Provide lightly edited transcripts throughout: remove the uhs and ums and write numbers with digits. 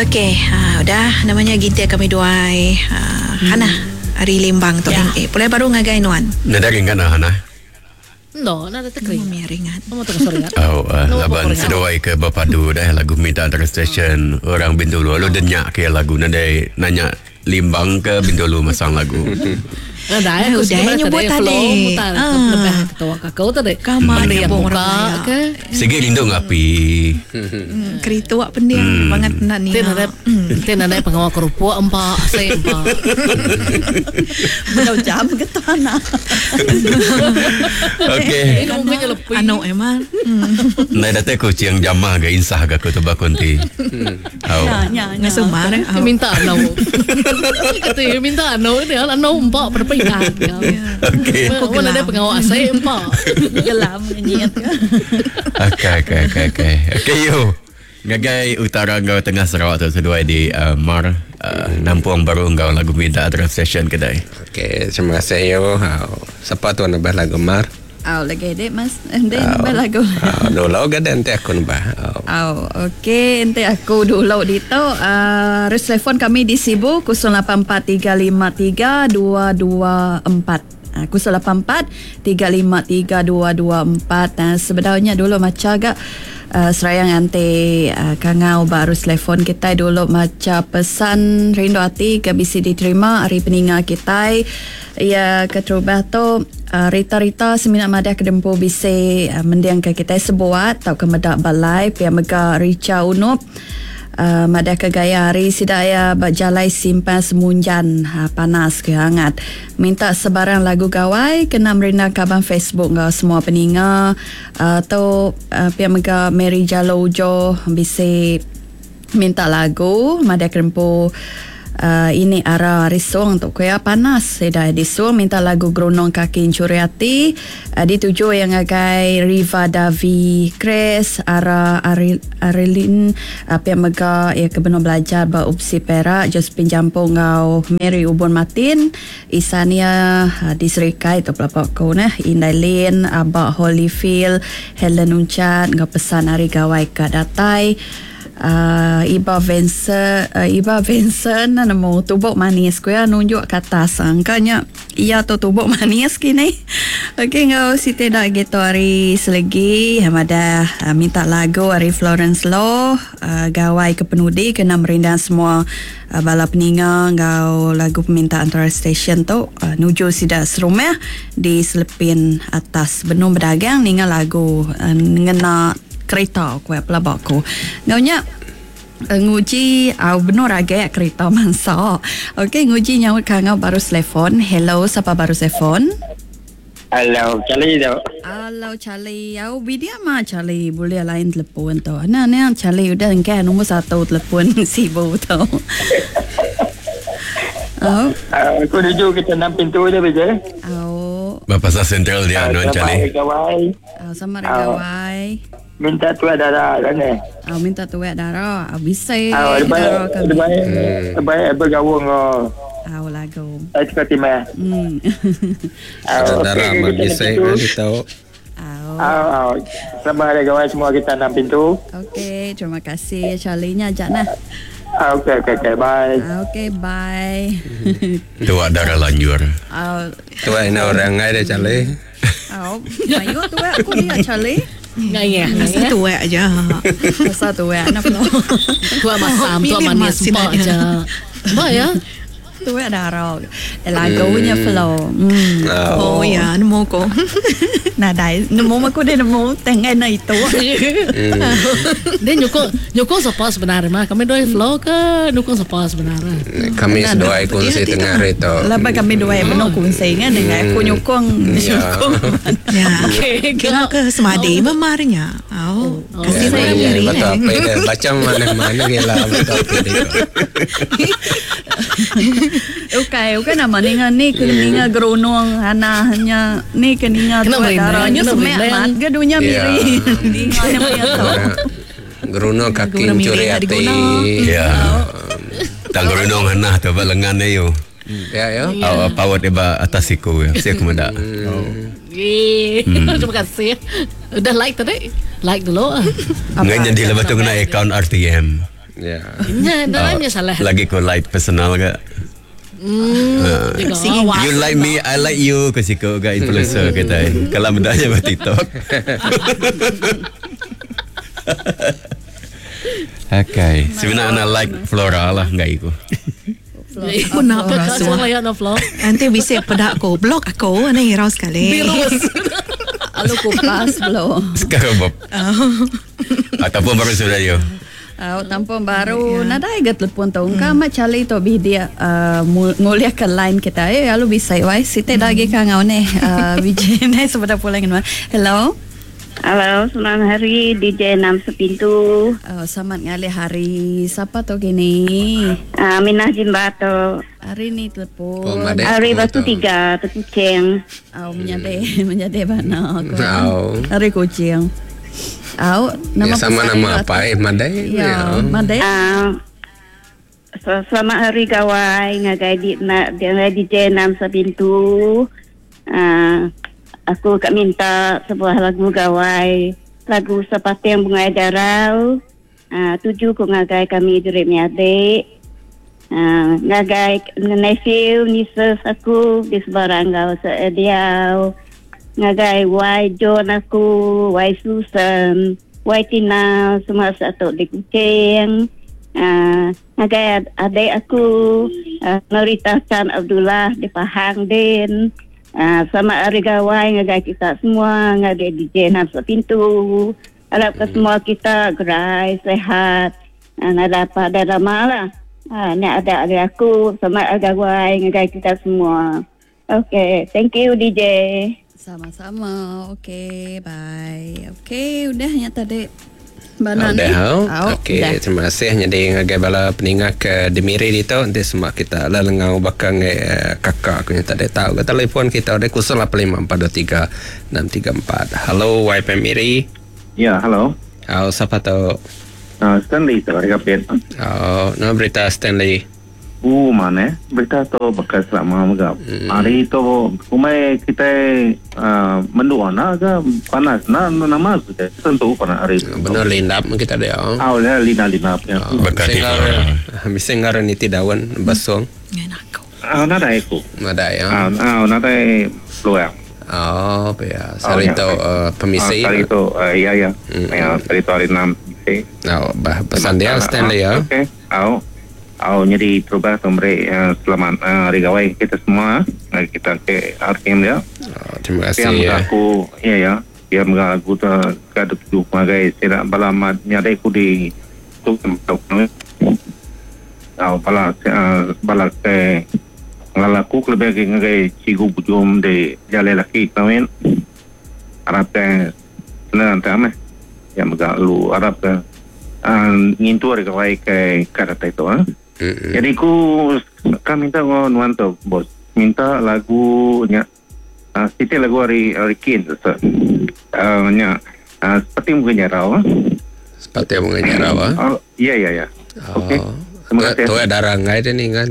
Okey, ha, udah namanya gintir kami duai ha, Hana ari Limbang tu. Ya. Eh, pulai baru ngagai nuan. Nadai ringat nah Hana. No, nadai te keringat. Mia ringat. Nama tu pasal ringat? Oh, uh, laban seduai ke berpadu dah lagu minta antara stesen orang Bintulu lalu denyak ke lagu nadai nanya Limbang ke Bintulu masang lagu. Nadai aku Udah sebenarnya nyebut tadi tadi. flow mutar Ah. lebih ketua aku tadi. Kama Mending nyebut buka orang Dayak. ke. Sigi rindu ngapi. Keritu awak pending bangat enda Ti ninga. nadai ti nadai pengawa kerupuk empa asai empa. Bedau jam ke tanah. Okey. Ini mungkin lepi. Anu emang. Ndai datai kucing jamah ga insah ga aku tebak kunti. Au. Nya nya nya. Ngasuh mar. Dia minta anu. Kata dia minta anu dia anu empa perpingan. Okey. Aku nadai pengawa asai empa. Gelam ngenyit ke. Okey okey okey okey. Okey yo. Ngagai utara enggau tengah Sarawak tu seduai di uh, Mar uh, nampung baru enggau lagu minta antara session kedai. Okey, terima kasih yo. Siapa tu nambah lagu Mar? Au lagi dek mas. Dek nambah lagu. Au, dulu ga nanti aku nambah. Au. Au, okey, enti aku dulu ditu uh, harus telefon kami di Sibu 0843532224. Uh, 084 353 224. Uh, sebenarnya dulu maca gak uh, serayang anti uh, kangau baru telefon kita dulu maca pesan rindu hati ke bisi diterima hari peninga kita ya keterubah tu uh, Rita-Rita semina madah kedempu bisi uh, mendiang ke kita sebuat tau ke medak balai pia mega Richa Unup Uh, madah ke gaya hari sidaya berjalai simpan semunjan uh, panas ke hangat. Minta sebarang lagu gawai kena merindang kaban Facebook ngau semua peninga uh, tu uh, pia mega Mary Jalo Ujo bisi minta lagu madah kerempu uh, ini ara risung untuk kuya panas seda disung minta lagu Gerunung Kaki Curi Hati uh, dituju yang ngagai Riva Davi Chris ara Ari, Arilin uh, pihak mega ia ke benar belajar ba Upsi Perak Josephine Jampung ngau Mary Ubun Martin Isania uh, di Serikai tu pelapok ko nah Indai Lin Abak Holyfield Helen Uncat ngau pesan hari gawai ka datai Iba Vincent uh, Iba Vincent nemu tubuk manis ku ya nunjuk ke atas angkanya ia tu tubuk manis kini. Okey ngau Siti dak gitu hari selegi ada uh, minta lagu hari Florence Law uh, gawai ke penudi kena merindang semua uh, bala peninga ngau lagu permintaan antara station tu uh, nuju sida serumah di selepin atas benung berdagang ninga lagu uh, ngena kereta ku pelabak ku. Ngaunya nguji au benar agak kereta mansa. Okey nguji nyaut kangau baru telefon. Hello siapa baru telefon? Hello, Charlie tu. Hello Charlie. Au bidia ma Charlie boleh lain telefon tu. Nah ni Charlie udah engkau nombor satu telefon sibuk tu. Oh. Aku tuju kita enam pintu je beje. Au. Bapa pasal sentral dia nuan Charlie. Gawai. Au sama gawai. Minta tuat darah kan eh. Au minta tuat darah. Au bisa. Au lebih lebih lebih bergabung kau. Au lagu. Ai suka timah. Au darah mah bisa kan tahu. Au. Au au. Selamat hari gawai semua kita enam pintu. Okey, terima kasih Charlie nya ajak nah. Okey okey okey bye. Okey bye. Tuat darah lanjur. Au. Tuat ini orang ai dia Charlie. Au, mayu tuat aku dia Charlie. Ngai Asal tuat aja. Asal tuat nak flow. Tuat masam, tuat manis empa aja. Empa ya. Tuat darah. Lagunya flow. Hmm. Oh ya, nemu ko. Nadai, nemu aku dia nemu tengah na itu. Dia nyukung nyukung siapa sebenarnya mah? Kami dua flow ke nyukung siapa sebenarnya? Kami sedua kongsi tengah hari tu. Lepas kami dua yang penuh kongsi kan dengan aku nyukung nyukung. Ya. Okey, Kira ke semadi memarnya. Oh, kasih Ya, orang ya, diri. betul apa dia baca mana-mana dia lah betul apa dia. Okey, okey nama ninga ni ke ninga gerunung hana hanya ni ke ninga Kena tuat merindang, darahnya kena semek merindang. mat ke dunia Ya. miri. Ninga ni punya tu. Gerunung kaki Gerunung curi miri tak hati. diguna. Ya. Tang gerunung hanah tu ba lengan dia yo. Ya ya. Au pawat dia ba atas siku ya. Saya aku mendak. Yeay. Terima kasih. Udah like tadi? Like dulu. Ngai jadi lepas tu kena account RTM. Ya. Nya dalam nya salah. Lagi ku like personal ga. You like me, I like you ke siku ga influencer kita. Kalau benda nya ba TikTok. Okay. Sebenarnya nak like Flora lah enggak iku. Aku nak Apa rasuah. semua ya no flow. Nanti bisa pedak aku, blok aku, ni hirau sekali. Virus. Alu kupas belum. Sekarang Bob. Ataupun baru sudah yo. Oh, tampung baru. Nadai ga telefon tu. Engkau amat cali tu bih dia nguliah ke line kita. Eh, lalu bisa wai. Siti lagi kan ngau ni. BJ ni sebentar pulang dengan. Hello. Halo, selamat hari DJ 6 Sepintu. Oh, selamat ngalih hari. Siapa tu gini? Minah Jimbato. Hari ni telefon. Oh, madek. Hari Batu tu. Tiga, Tekucing. Oh, menyadai, menyadai mana aku. Oh. Hari kucing. Oh, Ya, sama pesan nama itu apa eh Madai. Ya, Madai. Selamat hari gawai ngagai di na, DJ 6 Sepintu. Aku kak minta sebuah lagu gawai, lagu Sepating Bunga Darau. Tuju ku ngagai kami jurik miadik. Ngagai nephew, nieces aku di sebarang gau seediau. Ngagai Y John aku, Y Susan, Y Tina, semua satu di Kuching. Ngagai adik aku, Norita Chan Abdullah di Pahang Din. Selamat hari gawai ngagai kita semua, ngagai DJ Nam Sepintu. Harap ke semua kita gerai, sehat. Nak dapat ada lama lah. Ni ada adik aku, selamat hari gawai ngagai kita semua. Okay, thank you DJ. Sama-sama. Okay, bye. Okay, udah ya tadi. Bana Udah, ni. oh. Oh, Okey, udah. terima kasih jadi ngagai bala peninga ke Demiri itu nanti semua kita lah lengau bakal ngai kakak aku yang tak ada tahu ke telefon kita ada 085423 634. Halo YPM Miri. Ya, halo. Oh, siapa tu? Stanley tu dari Kapit. Oh, nama berita Stanley. Mana? Berita tu bekas selama megap. Hari tu umai kita mendua na ke panas na nama sudah tentu panas hari tu. Benar lindap kita dia. Oh. Ah, ya lina lina. Ya. Berkat di Flora. Bisa ngaran niti daun basung. Ngan aku. Ah, nadai aku. Ada ya. Ah, nadai peluang. Oh, ya. Sari ya. tu permisi. Hari tu ya ya. Ya, hari tu hari 6 permisi. Oh, bah pesan dia Stanley ya. Okey. Au. Au jadi terubah tu beri selamat hari gawai kita semua. Kita ke RTM dia. Oh, terima kasih Yang ya. aku ya ya. Yang aku tu kada tuju magai sila bala mat nyadai ku di tu Au bala bala ke ngalaku lebih ke ngagai cigu bujum di jalan laki kawin. Arab ke senang tak meh. Yang mega lu Arab ke ngintu hari gawai ke kada itu ah. Jadi ku kan minta ngau nuan tu bos. Minta lagu nya siti lagu hari hari kin tu. Nya seperti mungkin nyarau. Seperti bunga nyarau ah. Oh, ya ya ya. Okey. Terima kasih. Tu ada rangai dia ni kan.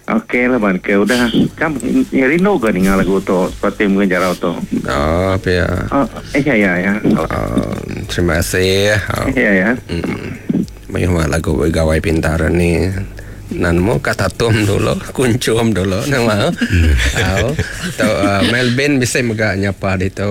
Okey lah ban ke udah kan ya, rindu ke dengar lagu tu seperti mungkin nyarau tu. Oh, apa ya. Oh, ya ya ya. Oh, terima kasih. Oh. Ya ya. Banyak lagu gawai pintar ni. Nanmu kata tum dulu, kuncum dulu nama. Tahu. Tu Melvin bisa mega nyapa di tu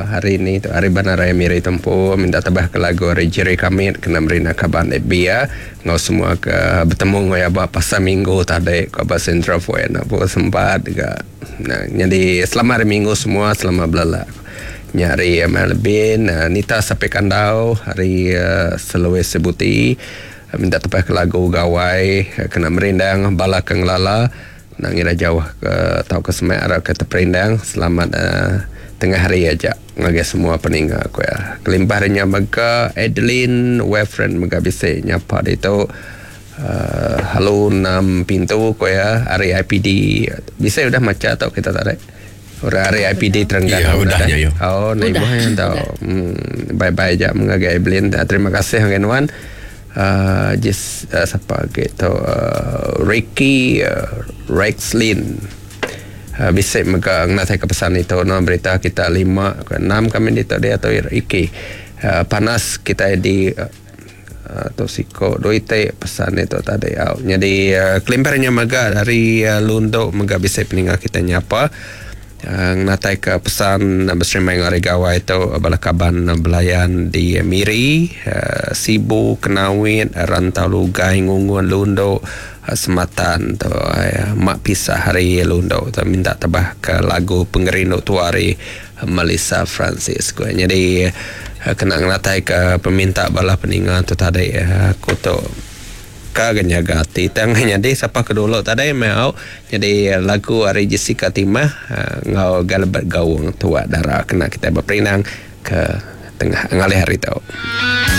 hari ni tu hari Banaraya Miri Tempu minta tabah ke lagu hari Jerry kami kena merina kaban ebia ngau semua ke bertemu ngau ya pasar minggu tadi ke ba Central Point apa sempat juga. Nah, jadi selama hari minggu semua selama belala. Nyari Melvin, Nita sampai kandau hari Selawesi Sebuti minta tepah ke lagu gawai kena merindang bala ke ngelala nak ngira jauh ke tau ke semak arah ke terperindang selamat tengah hari aja ngagai semua peningga aku ya kelimpah harinya mega Adeline Wefren mega bisa nyapa dia tu halo 6 pintu aku ya hari IPD bisa udah maca atau kita tarik Orang hari IPD Terengganu. Ya, udahnya, yo. Oh, naik buah yang tahu. Bye-bye je mengagai Evelyn. Terima kasih dengan Wan. Just siapa gitu Ricky Rexlin. Bisa mega ngatai ke pesan itu no berita kita 5 ke 6 kami di dia atau Ricky. Panas kita di Tu siko dua iti pesan itu tadi au. Jadi kelimpah nya mega dari Lundu mega bisi peninga kita nyapa ngenatai ke pesan beserimbai enggau hari gawai tu bala kaban belayan di Miri, Sibu, Kenawit, Rantau Lugai, Ngungun, Lundu, Sematan tu mak pisah hari Lundu tu minta tebah ke lagu Pengerindu Tua ari Melissa Francis ku. Nyadi kena ngenatai ke peminta bala peninga tu tadi aku tu ka ga nyaga ati tang nyadi sapa ke dulu tadi meh au nyadi lagu ari Jessica Timah enggau Galbert Gaung Tua Dara kena kitai beperinang ke tengah ngalih hari tu.